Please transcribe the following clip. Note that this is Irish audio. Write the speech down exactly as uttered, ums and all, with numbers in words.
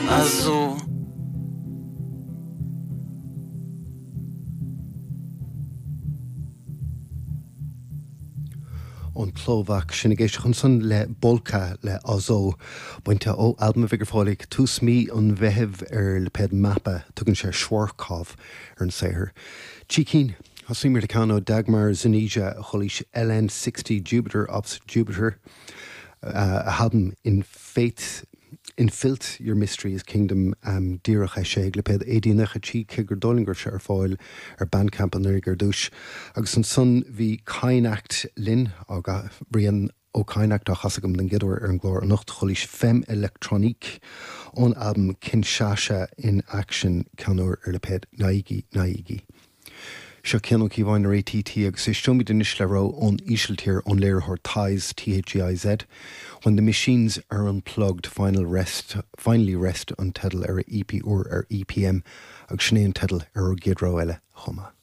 Azul. Ón tSlóvaic sinn ag éisteacht ansan le Bolka le Azul, bainte ó albam a bheidh ar fáil ag tús mí an Mheithimh ar lipéad Mappa. Tugann sé Schwarzkopf ar an saothar. Trí cinn. Thosaíomar le ceann ó Dagmar Zenija, a chulaois L N sixty Jupiter Opposite Jupiter, a halbam In Faith In Filth Your Mystery is Kingdom, díreach eisithe ag lipéad A D nócha trí, cé gur dóigh liom go raibh sé ar fáil ar Bandcamp anuraidh ar dtús. Agus ansan bhí Keinacht linn, Brian Ó Keinacht á chasadh agam den gcéad uair ar an gclár anocht, chulaois Femme Electronique ón albam Kinshasa in Action, ceann úr ar lipéad Naigi Naigi. Seo Cian Ó Cíobháin ar A T T agus éisteoimid anois le rogha ón Ísiltír ón léiritheoir Theiz, T H E I Z. When the Machines Are Unplugged, Final Rest, Finally Rest an teideal ar a E P úr ar E P M agus sin é an teideal ar ár gcéad rogha eile chomh maith.